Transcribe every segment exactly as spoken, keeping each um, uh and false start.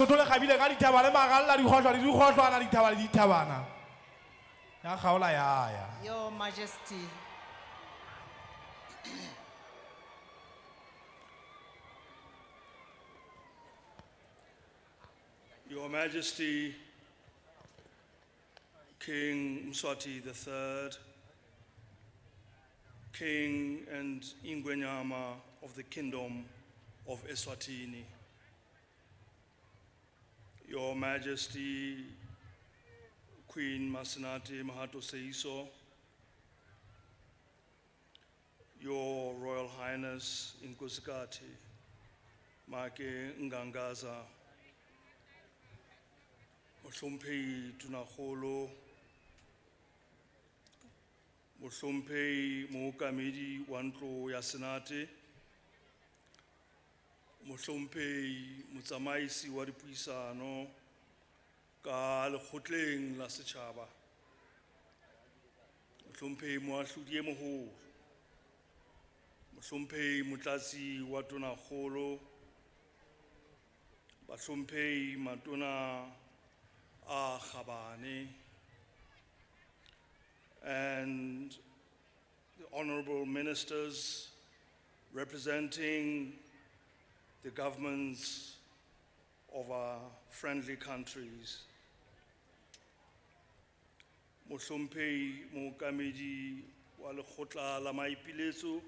Lesotho le kgabile ka dithaba le maralla, dikgohlwa le dikgohlwana, dithaba le dithabana. Ya kgaola ya ya. Your Majesty. Your Majesty, King Mswati the Third, King and Ingwenyama of the Kingdom of Eswatini. Your Majesty, Queen Masenate Makgatho Seeiso, Your Royal Highness Inkhosikati Make Ngangaza, Mohlomphehi Tonakgolo, Mohlomphehi Mookamedi wa Ntlo ya Senate, Mohlomphehi Motsamaisi wa Dipuisano ka Lekgotleng la Setjhaba, Mohlomphehi Moahlodi e Moholo, Mohlomphehi Motlatsi wa Tonakgolo, Bahlomphehi Matona a Kgabane, and the honorable ministers representing the governments of our friendly countries. Mohlomphehi Mookamedi wa Lekgotla la Maipiletso,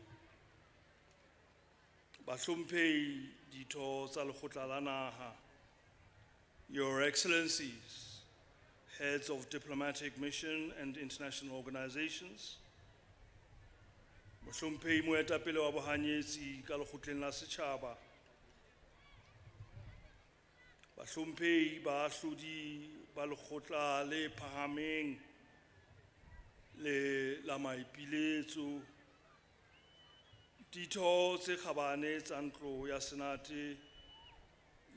Bahlomphehi ditho tsa Lekgotla la Naha, Your Excellencies, heads of diplomatic mission and international organizations, Mohlomphehi Moetapele wa Bohanyetsi ka Lekgotleng la Setjhaba, Bahlomphehi baahlodi ba Lekgotla le Phahameng le la Maipiletso, ditho tse kgabane tsa Ntlo ya Senate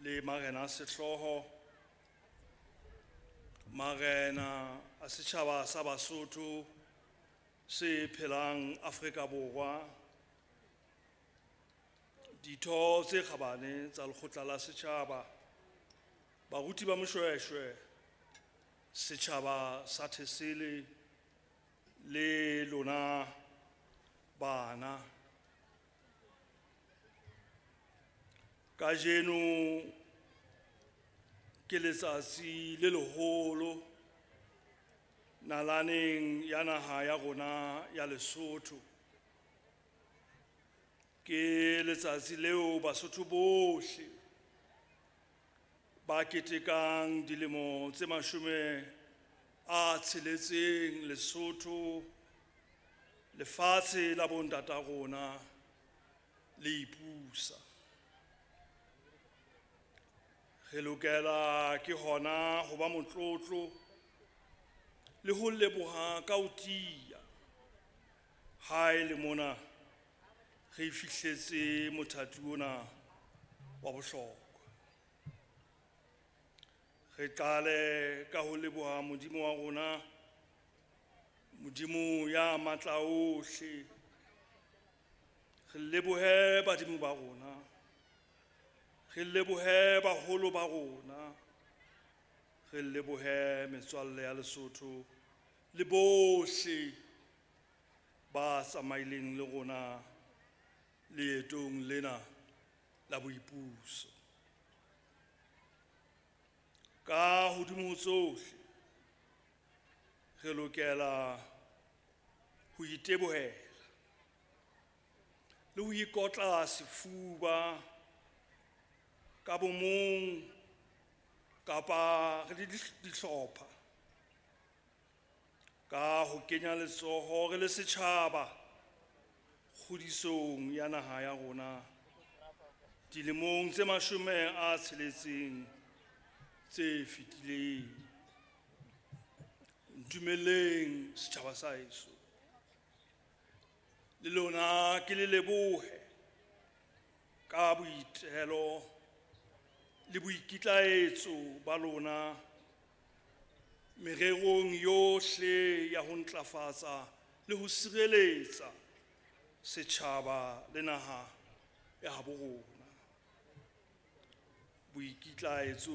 le marena a sehlooho, marena a setjhaba sa Basotho se phelang Afrika Borwa, ditho tse kgabane tsa Lekgotla la Setjhaba, baruti ba Moshweshwe, setjhaba sa Thesele le lona bana. Kajeno ke letsatsi le leholo nalaneng ya naha ya rona ya Lesotho. Ke letsatsi leo Basotho bohle ba ketekang dilemo tse mashome a tsheletseng Lesotho, lefatshe la bontata rona le ipusa. Re lokela ke hona ho ba motlotlo le ho leboha ka ho tiya ha e le mona re fihletse mothati ona wa bohlokwa. Re qale ka ho leboha Modimo wa rona, Modimo ya matla ohle. Re lebohe badimo ba rona, re lebohe baholo ba rona, re lebohe metswalle ya Lesotho le bohle ba tsamaileng le rona leetong lena la boipuso. Ka hodimo ho tsohle, re lokela ho itebohela le ho ikotla sefuba ka bomong kapa re le dihlopha ka ho kenya letsoho re le setjhaba kgodisong ya naha ya rona dilemong tse mashome a tsheletseng tse fetileng. Ntumeleng setjhaba sa heso, le lona ke le lebohe ka boitelo le boikitlaetso ba lona mererong yohle ya ho ntlafatsa le ho sireletsa setjhaba le naha ya habo rona. Boikitlaetso